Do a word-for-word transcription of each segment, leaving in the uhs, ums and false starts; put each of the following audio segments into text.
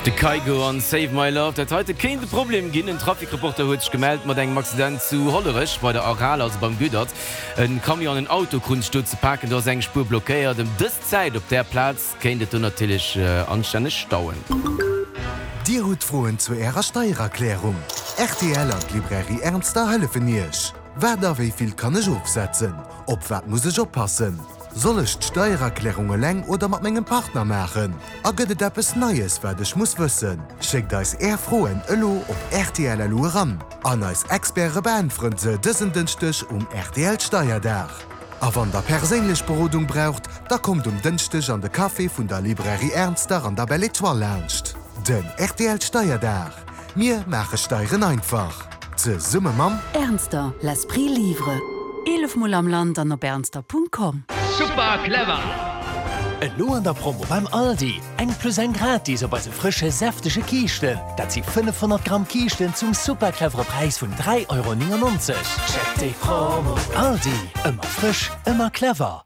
De Kygo an Save My Love. Dat heite kéint e Problem ginn. En Trafic-Reporter huet sech gemellt mat engem Accident zu Hollerech bei der Aral, also beim Goedert. En Camion an en Auto kruten sech do ze paken, do ass eng Spuer blockéiert. Ëm dës Zäit op där Plaz kéint et do natierlech anstänneg stauen. Dir hutt Froen zu Ärer Steiererklärung? Rtl an d'Librairie Ernster hëllefen Iech. Wat a wéi vill kann ech ofsetzen? Op wat muss ech oppassen? Soll ech d'Steiererklärung eleng oder mat mengem Partner maachen? A gëtt et eppes Neies, wat ech muss wëssen? Schéckt eis Är Froen elo op rtl.lu eran an eis Experte beäntweren se dësen Dënschdeg um rtl Steierdag. A wann der perséinlech Berodung braucht, da kommt um Dënschdeg an de Café vun der Librairie Ernster an der Belle Etoile laanscht. Den rtl Steierdag. Mir maache Steieren einfach. Zesumme mam. Ernster, l'esprit livre. Eelef Mol am Land an op ernster.com. Super clever! Elo an der Promo beim Aldi, eng plus eng gratis op eise frësche säftege Kiischten. Dat si fënnefhonnert Gramm Kiischten zum super clevere Präis vun dräi Euro néngennonzeg. Check déi Promo! Aldi, ëmmer frësch, ëmmer clever.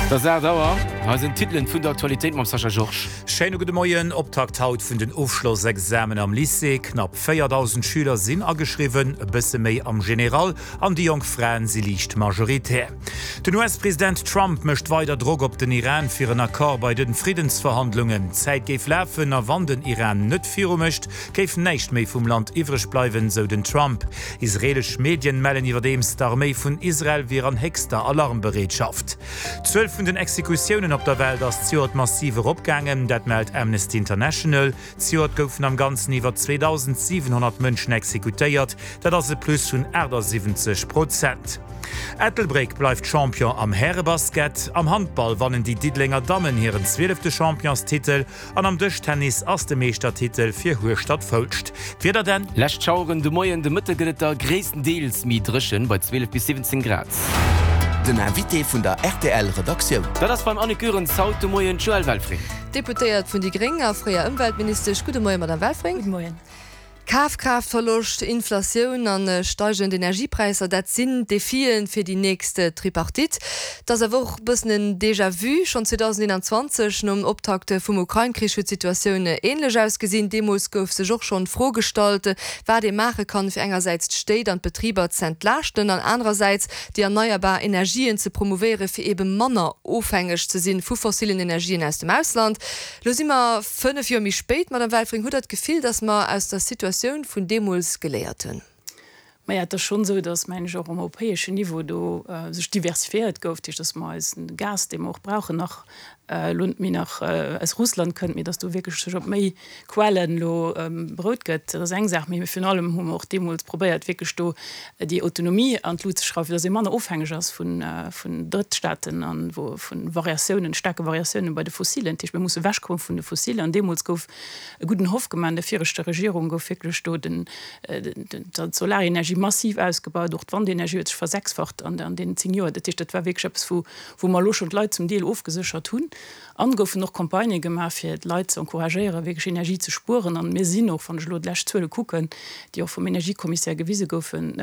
Et ass aacht Auer, hei sinn d'Titelen vun der Aktualitéit mam Sascha Georges. Schéine gudde Moien. Optakt haut vun den Ofschlossexamen am Lycée. Knapp véierdausend Schüler sinn ageschriwwen, e bësse méi am General, an déi jonk Fraen si liicht majoritär. Den U S-President Trump mécht weider Drock op den Iran fir en Accord bei de Friddensverhandlungen. D'Zäit géif lafen a wann den Iran net viru mécht, géif näischt méi vum Land iwwreg bleiwen, sou den Trump. Israeelesch Medien mellen iwwerdeems, d'Arméi vun Israel wier an héchster Alarmbereetschaft. D'Zuel vun den Exekutiounen op der Welt ass zejoert massiv eropgaangen, dat mellt Amnesty International. Zejoert goufen am Ganzen iwwer zweedausendsiwenhonnert Mënschen exekutéiert, dat ass e Plus vun aachtasiwwenzeg Prozent. Ettelbréck bleift Champion am Härebasket, am Handball wannen déi Diddelenger Dammen hiren zwielefte Championstitel an am Dëschtennis ass de Meeschtertitel fir Hueschtert-Foulscht. D'Wieder dann? Lescht Schaueren de Moien, de Mëtte gëtt et da gréisstendeels méi dréchen, bei zwielef bis siwwenzéng Grad. Den Invité vun der rtl Redaktioun. Dat ass beim Annick Goerens haut de Moien d'Joëlle Welfring. Deputéiert vun déi Gréng a fréier Ëmweltministesch. Gudde Moien, Madame Welfring. Gudde Moien. Kafkraaftverloscht, Inflatioun a steigend Energiepräisser, dat sinn d'Defien fir déi nächst Tripartite. Et ass awer och e bëssen en Déjà-vu, Schonn zweedausendeenanzwanzeg, nom Optakt vum Ukrain-Krich, huet d'Situatioun änlech ausgesinn. Deemools gouf sech och schonn d'Fro gestallt, wat ee maache kann, fir engersäits d'Stéit an d'Betriber z'entlaaschten an anerersäits déi erneierbar Energien ze promouvéieren, fir eebe manner ofhängeg ze sinn vu fossillen Energien aus dem Ausland. Lo si mer fënnef Joer méi spéit, Madame Welfring, hutt Der d'Gefill, datt mer aus der Situatioun vun deemools geléiert hunn? Maja, et ass schonn esou, datt, mengen ech, och um europäeschen Niveau do sech diversifiéiert gouf, dat heescht, datt mer eisen Gas, dee mer och brauchen, nach elo net méi nach aus Russland kënnt, mee datt do wierklech sech op méi Quellen elo berout gëtt. Dat ass eng Saach. Mee virun allem hu mer och deemools probéiert, wierklech do déi Autonomie an d'Lut ze schrauwen, fir datt ee manner ofhängeg ass vun Drëttstaaten a vu Variatiounen, staarke Variatiounen bei de Fossilen. Dat heescht, mir musse ewechkomme vun de Fossilen. An deemools gouf e gudden Hoff gemaach, an der viregter Regierung gouf wierklech do d'Solarenergie massiv ausgebaut, och d'Wandenergie huet sech versechsfacht an deenen zéng Joer. Dat heescht, dat war wierklech eppes, wou wou mer elo schonn d'Leit zum Deel ofgeséchert hunn. An goufen och Campagnë gemaach, fir d'Leit ze encouragéieren, wierklech Energie ze spueren. An mir sinn och, wann ech elo d'lescht Zuele kucken, déi och vum Energiekommissär gewise goufen,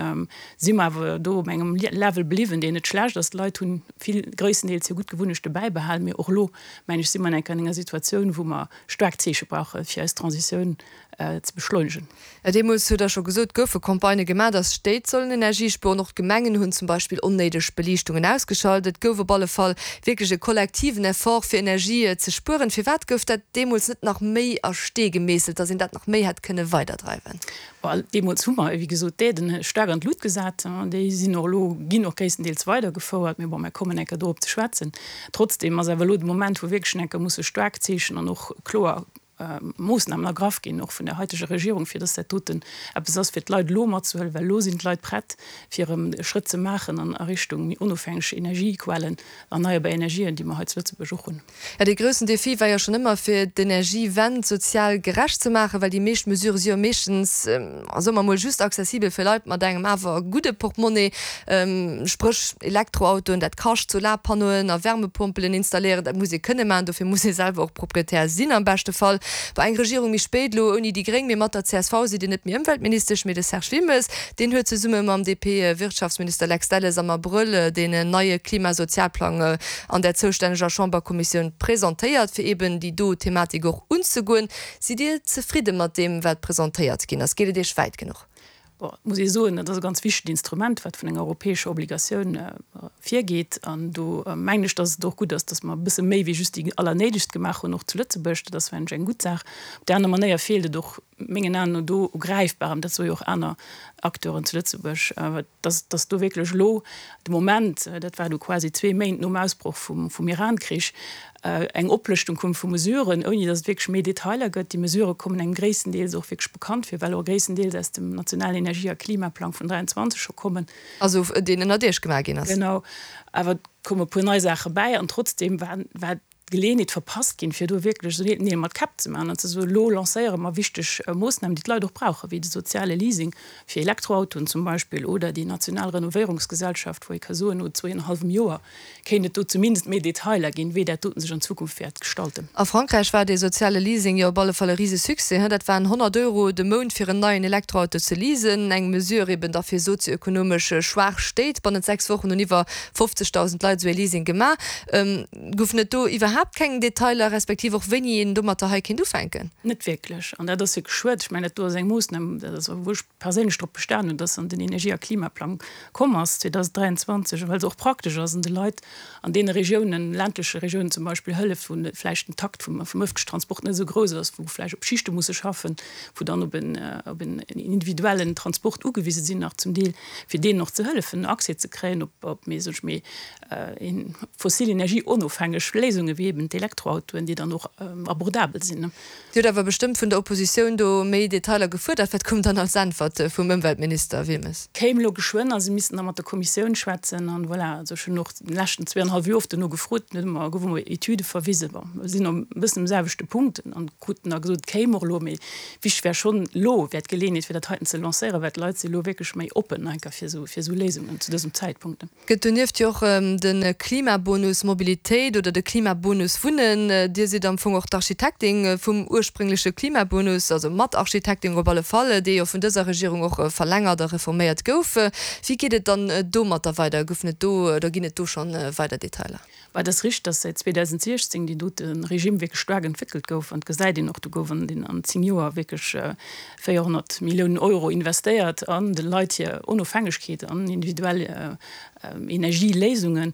si mer awer do op engem Level bliwwen, deen net schlecht ass. D'Leit hunn vill, gréisstendeels hir gutt Gewunnechte bäibehalen. Mee och elo, mengen ech, si mer an enger Situatioun, wou mer staark Zeeche brauchen, fir eis Transitioun ze beschleunegen. Deemools, hutt Der scho gesot, goufe Campagnë gemaach, datt d'Stéit sollen Energie spueren. Och d'Gemengen hunn zum Beispill onnéideg Beliichtungen ausgeschalt. Et gouf op alle Fall wierklech e kollektiven Effort, fir Energie ze spueren. Firwat gouf dat deemools net nach méi a Stee gemeesselt, datt een dat nach méi hätt kënne weiderdreiwen? Well deemools hu mer, wéi gesot, d'Aiden staark an d'Lut gesat. Déi sinn och elo, ginn och gréisstendeels weidergefouert. Mee bon, mir kommen enker dorop ze schwätzen. Trotzdeem ass awer elo de Moment, wou wierklech enker musse staark Zeechen an och kloer Moossnamen ergraff ginn, och vun der haiteger Regierung, fir dass dat doten eppes ass, fir d'Leit elo matzehuelen, well elo sinn d'Leit prett, fir erëm e Schrëtt ze maachen an a Richtung méi onofhängeg Energiequellen, erneierbar Energien, déi mer hei zu Lëtzebuerg och hunn. Jo, dee groussen Defi war jo schonn ëmmer, fir d'Energiewend sozial gerecht ze maachen, well déi meescht Mesurë si jo meeschtens, soe mer emol, just accessibel fir Leit mat engem awer gudde Portemonnaie, spréch Elektroautoen, dat kascht, Solarpannoen a Wärmepompelen installéieren, dat muss ee kënne maachen, dofir muss ee selwer och Proprietär sinn am beschte Fall. Bei eng Regierung méi spéit, elo ouni déi Gréng, mee mat der csv, sidd Dir net méi Ëmweltministesch, mee de Serge Wilmes. Deen huet zesumme mam DP-Wirtschaftsminister Lex Delles am Abrëll deen neie Klimasozialplang an der zoustänneger Chamberkommissioun presentéiert, fir eben déi do Thematik och unzegoen. Sidd Dir zefridde mat deem, wat presentéiert ginn ass? Geet et Iech wäit genuch? Bon, et muss ee soen, dat ass e ganz wichtegt Instrument, wat vun enger europäescher Obligatioun virgeet. An do mengen ech, dass et och gutt ass, dass mer e bësse méi wéi just déi Allernéidegst gemaach hunn, och zu Lëtzebuerg. Dat ass, mengen ech, eng gutt Saach. Op där aner Manéier feelt et och mengen Aen no do u Gräifbarem, dat soe jo och aner Acteuren zu Lëtzebuerg, dass, dass do wierklech elo de Moment, dat war du quasi zwee Méint nom Ausbroch vum, vum Iran-Krich, eng Oplëschtung koum vu Mesuren, ouni dass et wierklech méi Detailer gëtt. Déi Mesurë kommen engem gréisstendeels och wierklech bekannt vir, well och gréisstendeels aus dem nationalen Energie a Klimaplang vun dräianzwanzeg scho kommen. Also deen ënnert Iech gemaach ginn ass. Genau. Awer et koume e puer nei Saache bäi an trotzdeem war, war d'Geleeënheet verpasst ginn, fir do wierklech esou Neel mat Käpp ze maachen an ze soen, elo lancéiere mer wichteg Moossnamen, déi d'Leit och brauchen, wéi de soziale Leasing fir Elektroautoen zum Beispill oder déi national Renovéierungsgesellschaft, wou ee ka soen, no zwee an e hallwem Joer kéint et do zumindest méi Detailer ginn, wéi dat doten sech an Zukunft wäert gestalten. A Frankräich war dee soziale Leasing jo op alle Fall e Risesuccès. Dat waren honnert Euro de Mount fir en neien Elektroauto ze leasen, eng Mesure eben da fir sozioekonomesch schwaach Stéit. Bannent sechs Wochen hunn iwwer fofzegdausend Leit esou ee Leasing gemaach. Goufen et do iwwerhaapt keng Detailer, respektiv och wéini een domatter hei kéint ufänken? Net wierklech. An dat ass wierklech schued. Ech mengen, dat do ass eng Moossnam, dat ass, wou ech perséinlech drop bestan hunn, dass se an den Energie a Klimaplang komm ass zweedausenddräianzwanzeg, well se och praktesch ass an de Leit an deene Regiounen, ländleche Regiounen zum Beispill, hëlleft, wou vläicht den Takt vum ëffentlechen Transport net esou grouss ass, wou vläicht op Schichte musse schaffen, wou dann op en op en individuellen Transport ugewise sinn nach zum Deel, fir deenen och ze hëllefen, Accès ze kréien op op méi, soen ech, méi fossil energieonofhängeg Léisunge wéi eben d'Elektroautoen, déi dann och abordabel sinn. Dir hutt awer bestëmmt vun der Oppositioun do méi Detailer gefuerdert. Wat koum dann als Äntwert vum Ëmweltminister Wilmes? Kéim elo geschwënn a se missten da mat der Kommissioun schwätzen an voilà. Also ech hunn och den leschten zwee an e hallef Joer oft dono gefrot, net ëmmer gouf ëmmer Etüde verwisen. Bon, mer sinn e bëssen um selwechte Punkt an kruten da gesot, et kéim och elo, mee wichteg wär schonn, elo wär d'Geleeënheet fir dat heiten ze lancéieren, well d'Leit si elo wierklech méi oppen enker fir esou Léisungen zu dësem Zäitpunkt. Gëtt donieft jo och de Klimabonus Mobilitéit oder de Klimabonus Wunnen. Dir sidd am Fong och d'Architektin vum urspréngleche Klimabonus, also Matarchitektin op alle Fall, dee jo vun dëser Regierung och verlängert a reforméiert gouf. Wéi geet et dann domatter weider? Goufen et do oder ginn et do schonn weider Detailer? Bah, et ass richteg, dass säit zweedausentsiechzéng déi dote Regime wierklech staark entwéckelt gouf. An et gesäit een och, do gouf an den an zéng Joer wierklech véierhonnert Milliounen Euro investéiert an de Leit hir Onofhängegkeet an individuell Energieléisungen,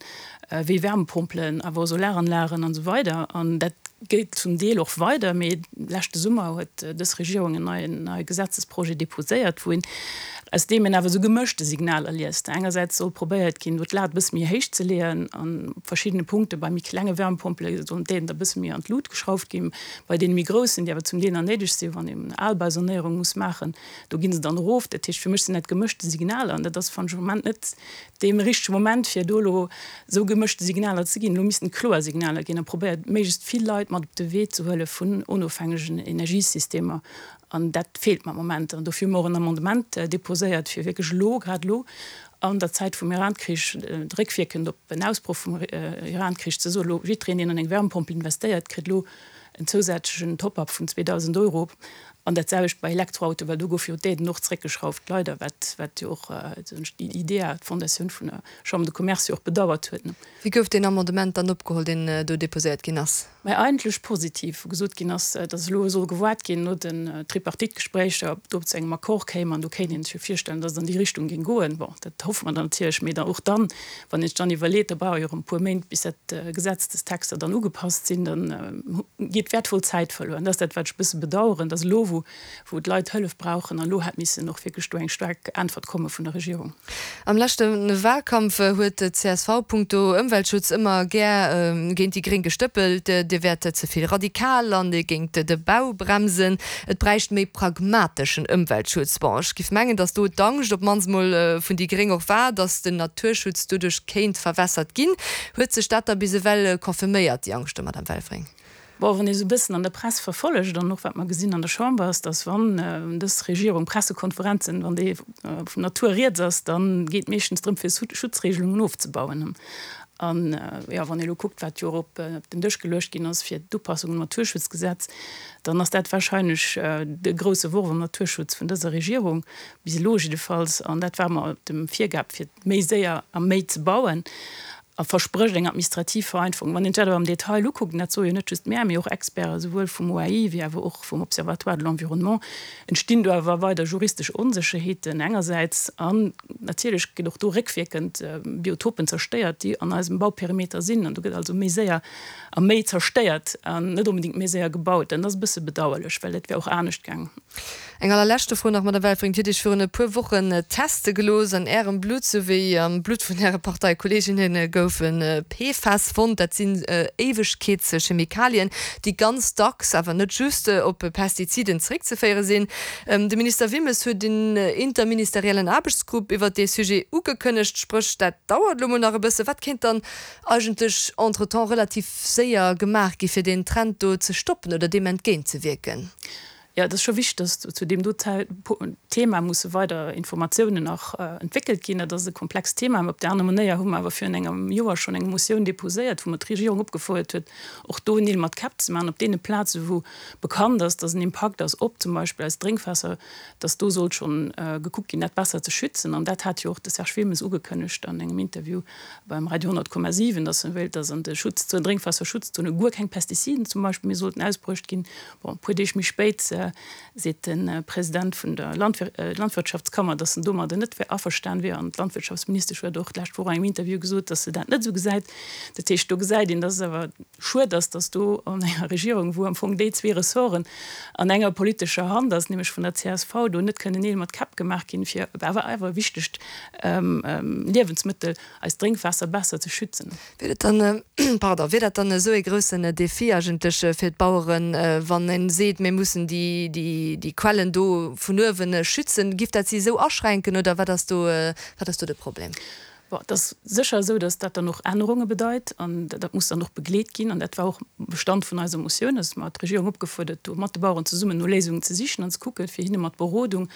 wéi Wärmepompelen, awer och Solaranlagen an esou weider. An dat geet zum Deel och weider, mee leschte Summer huet dës Regierung en neien neie Gesetzesprojet deposéiert, wou een, aus deem een awer esou gemëschte Signaler liest. Engersäits soll probéiert ginn, do d'Lat e bësse méi héich ze leeën an op verschiddene Punkte. Bei méi klenge Wärmepompele sollen d'Aiden da e bësse méi an d'Lut geschrauft ginn. Bei deene méi groussen, déi awer zum Deel nach néideg sinn, wann een Albausanéierung muss maachen, do gi se dann erof. Dat heescht, fir mech sinn dat gemëschte Signaler an dat ass, fannen ech, am Moment net dee richtege Moment, fir do elo esou gemëschte Signaler ze ginn. Elo missten kloer Signaler ginn a probéiert, méiglechst vill Leit mat op de Wee ze huele vun onofhängegen Energiesystemer. An dat feelt mer am Moment. An dofir hu mer och en Amendement deposéiert, fir wierklech elo, grad elo an der Zäit vum Iran-Krich, réckwierkend op en Ausbroch vum Iran-Krich, ze soen, elo jiddwereen, deen an eng Wärmepompel investéiert, kritt elo en zousätzlechen Top-up vun zweedausend Euro. An dat selwecht bei Elektroautoen, well do gouf jo d'Aiden och zréckgeschrauft, leider, wat, wat jo och déi IDEA, d'Fondatioun vun der Chambre de Commerce jo och bedauert huet. Wéi gouf deen Amendement dann opgeholl, deen do deposéiert ginn ass? Mä eigentlech positiv, wou gesot ginn ass, datt elo soll gewaart ginn no den Tripartite-Gespréicher, ob do zu engem Accord kéim. An do kéint ee sech jo virstellen, datt et an déi Richtung géing goen. Bon, dat hoffe mer dann natierlech. Mee dann och dann, wann ee sech dann iwwerleet, da brauch ee jo erëm e puer Méint, bis dat Gesetzestexter dann ugepasst sinn, dann geet wäertvoll Zäit verluer. An dat ass dat, wat ech e bësse bedauern, datt elo, wou wou d'Leit Hëllef brauchen, an elo hätt missen och wierklech do eng staark Äntwert komme vun der Regierung. Am leschte Wahlkampf huet d'CSV punkto Ëmweltschutz ëmmer gär géint déi Gréng gestëppelt, Dir wäert ze vill radikal an Dir géingt de Bau bremsen. Et bräicht méi pragmateschen Ëmweltschutz. Bon, ech giff mengen, datt do d'Angscht op d'mannst mol vun déi Gréng och war, datt den Naturschutz doduerch kéint verwässert ginn. Huet sech dat da bis ewell confirméiert, déi Angschte, Madame Welfring? Bon, wann ee sou e bëssen an der Press verfollegt an och wat mer gesinn an der Chamber, ass, datt wann dës Regierung Pressekonferenzen, wann déi vun Natur rieds ass, da geet meeschtens drëm fir Schutzregelungen ofzebauen. An, jo, wann ee elo kuckt, wat jo och op den Dësch geluecht ginn ass fir d'Upassung um Naturschutzgesetz, dann ass dat wahrscheinlech de grouse Worf am Naturschutz vun dëser Regierung, bis elo jiddefalls. An dat war mer dem Virgab, fir méi séier a méi ze bauen, a versprécht eng administrativ Vereinfachung. Wann een dat awer am Detail ukuckt, an dat soe jo net just mär, mee och Experten, souwuel vum O A I wéi awer och vum Observatoire de l'environnement, entstinn do awer weider juristesch Onsécherheeten engersäits an natierlech ginn och do réckwierkend Biotopen zerstéiert, déi an eisem Bauperimeter sinn. An do gëtt also méi séier a méi zerstéiert an net onbedéngt méi séier gebaut. An dat ass e bësse bedauerlech, well et wär och anescht gaangen. Eng allerleschte Fro nach, Madame Welfring, Dir hutt Iech virun e puer Wochen teste gelooss. An Ärem Blutt souwéi am Blutt vun Äre Parteikolleeginne goufe P F A S fonnt. Dat sinn Éiwegkeetschemikalien, déi ganz dacks, awer net just, op Pestiziden zeréckzeféiere sinn. De Minister Wilmes huet en interministeriellen Aarbechtsgrupp iwwert dee Sujet ugekënnegt. Spréch, dat dauert elo mol nach e bësse. Wat kéint dann eigentlech entretemps relativ séier gemaach gi fir deen Trend do ze stoppen oder deem entgéintzewierken? Jo, et ass scho wichteg, dass zu deem do Thema musse weider Informatiounen nach entwéckelt ginn. Dat ass e komplext Thema. Mä op där aner Manéier hu mer awer virun engem Joer schonn eng Motioun déposéiert, wou mer d'Regierung opgefuerdert huet, och do Neel mat Käpp ze maachen op deene Plazen, wou bekannt ass, dass en Impakt ass op zum Beispill eist Drénkwaasser, dass do sollt schonn gekuckt ginn, dat besser ze schützen. An dat hat jo och de Serge Wilmes ugekënnegt an engem Interview beim Radio honnert Komma siwen, dass en wéilt, dass an de Schutzzonen, Drénkwaasserschutzzonen guer keng Pestiziden zum Beispill méi sollten ausbruecht ginn. Bon, e puer Deeg méi spéit seet de President vun der Landwirtschaftskammer, dass en domadder net averstan wier. An d'Landwirtschaftsministesch huet och d'lescht Woch an engem Interview gesot, dass se dat net esou gesäit. Dat heescht, do gesäit een, dass et awer schued ass, dass do an enger Regierung, wou am Fong déi zwee Ressorten an enger politescher Hand ass, nämlech vun der C S V, do net kënnen Neel mat Käpp gemaach ginn, fir awer awer e wichtegt Liewensmëttel, eist Drénkwaasser, besser ze schützen. Wier dat dann, pardon, wier dat dann esou ee groussen Defi eigentlech fir d'Baueren, wann ee seet, mir mussen déi, déi, déi Quellen do vun uewen schützen? Giff dat si esou aschränken oder wat ass do, wat ass do de Problem? Bon, et ass sécher esou, dass dat dann och Ännerunge bedeit an dat muss dann och begleet ginn. An dat war och Bestand vun eiser Motioun, dass mer d'Regierung opgefuerdert hu mat de Baueren zesummen no Léisungen ze sichen an ze kucken, fir hinne mat Berodung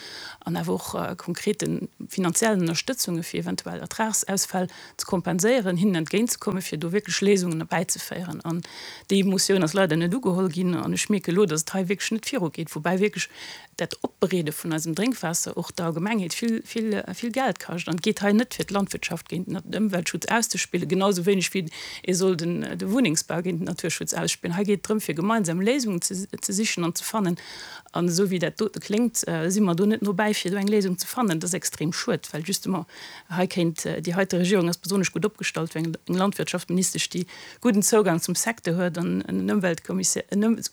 an awer och konkrete finanziellen Ënnerstëtzunge fir eventuell Ertragsausfäll ze kompenséieren, hinnen entgéintzekommen, fir do wierklech Léisungen erbäizeféieren. An déi Motioun ass leider net ugeholl ginn an ech mierke elo, dass et hei wierklech net virugeet, woubäi wierklech dat Opbereede vun eisem Drénkwaasser och der Allgemengheet vill, vill, vill Geld kascht. An et geet hei net fir d'Landwirtschaft géint den Ëmweltschutz auszespillen, genau esou wéineg wéi ee soll den, de Wunnengsbau géint den Naturschutz ausspillen. Hei geet et drëm, fir gemeinsam Léisungen ze, ze sichen an ze fannen. An esou wéi dat dote kléngt, si mer do net no bäi, fir do eng Léisung ze fannen. Dat ass extrem schued, well justement hei kéint, déi heite Regierung ass besonnesch gutt opgestallt, well eng Landwirtschaftsministesch, déi gudden Zougang zum Secteur huet an en Ëmweltkommissär,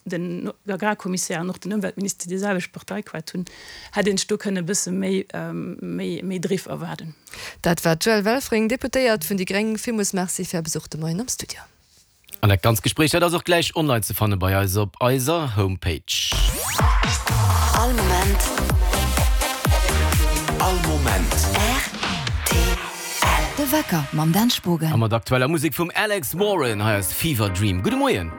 den Agrarkommissär an och den Ëmweltminister déi selwecht Parteiquett hunn, hätt een sech do kënne e bësse méi, méi, méi Driff erwaarden. Dat war d'Joëlle Welfring, Deputéiert vun déi gréng. Villmools Merci fir Är Besuch de Moien am Studio. An dat ganzt Gespréich, dat ass och gläich online ze fanne bei eis op eiser Homepage. All Moment. All Moment. R T L. De Wecker mam Dan Spogen. A mat aktueller Musek vum Alex Warren, hei ass Fever Dream. Gudde Moien.